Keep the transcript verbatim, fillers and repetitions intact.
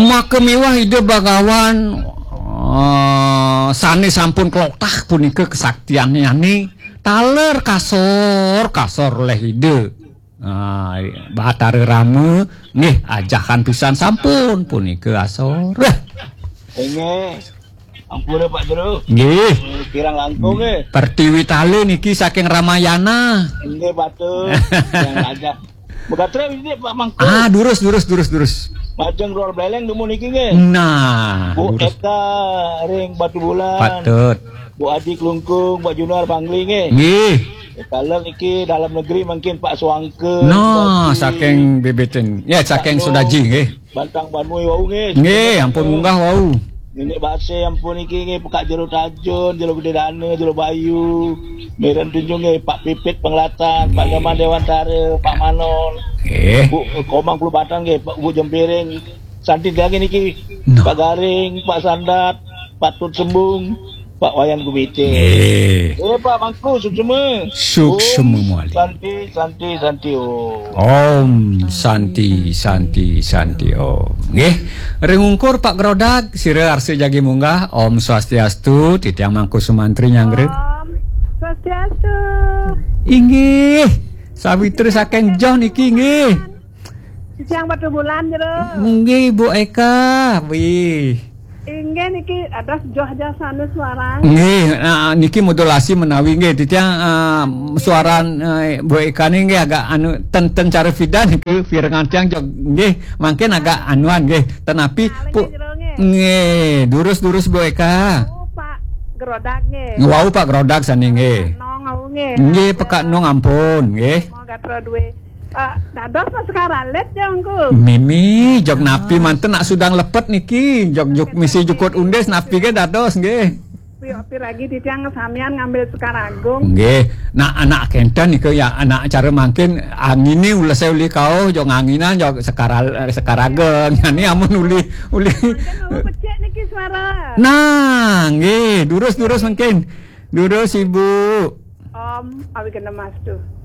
Maka miwah Ida Bagawan, eh, sane sampun klotah punika kesaktiannyane, taler kasor, kasor leh Ida. Ah, Batara Rama, nggih, ajahan pisan sampun punika asor. Wah. Inggih. Ampun, Pak Jero. Nggih. Eh, kirang langkung, nggih. Pertiwi Tali niki saking Ramayana. Inggih, patut. Yang aja. Megatre ini, Pak Mangku. Ah, durus, durus, durus, durus. Majeng Ror Beleng nemu niki, nggih. Nah, Bu durus. Eka ring Batu Bulan. Patut. Bu Adi Klungkung, Pak Junar Bangli, nggih. Nggih. Kalau niki dalam negeri mungkin Pak Suangke, Nah, Sudaji. Saking Bebeten. Ya, Pak saking Nung, Sudaji, nggih. Bantang Banui wau, nggih. Nggih, ampun munggah wau. Nenek Base ampun niki, nggih, Pekak Jero Tajun, Jero Gede Dana, Jero Bayu. Miren Tunjung, nggih, Pak Pipit Penglatan, Pak Nyoman Dewantara, Pak Manon. Nggih. Bu Komang Pulu Batang, nggih, Pak Bu Jempiring. Santi lagi niki. Nah. Pak Garing, Pak Sandat, Pak Tut Sembung, Pak Wayan Gumite. Nggih. Eh, Pak Mangku, suksema. Suksema Om mawali. Santi, Santi, Santi, Om. Om Santi, Santi, Santi, Om. Nggih. Ring ungkur Pak Grodag, sira arsa jagi munggah. Om Swastiastu, titiang Mangku Sumantri nyanggra. Om Swastiastu. Inggih. Sawitra saking Joh niki, nggih. Siang Batu Bulan, Jero. Nggih, Bu Eka. Wih. Inggih niki ada joh-joh sana suara. Nggih, nah, niki modulasi menawi nggih titiang, ah, suara, eh, Bu Eka ni nggih agak anu ten ten cara pidan niki pirengan tiang jog nggih mangkin agak anuan nggih. Tenapi Nah, pu- nggih, Jero, nggih. Nggih, durus-durus Bu Eka. Oh, Pak Grodak nggih. Wau Pak Grodak sani nggih. Nong, au nggih. Nggih, Pekak Nong ampun nggih. Mau gatra duwe Pak, dados Pak Sekar Alit ya, Ungku? Mimi, jog napi manten nak sudang lepet niki, jog juk misi jukut undis napi ke dados nggih. Pi, pi lagi titiang samian ngambil Sekar Agung. Nggih, nak anak kenten nika ya, anak cara mangkin angine ulese uli kauh, jog nganginan jog Sekar Al-, Sekar Ageng. Yani amun uli, uli. Mangkin mau becik niki suara. Nah, nggih, durus-durus mangkin. Durus Ibu. Om Awigandamastu.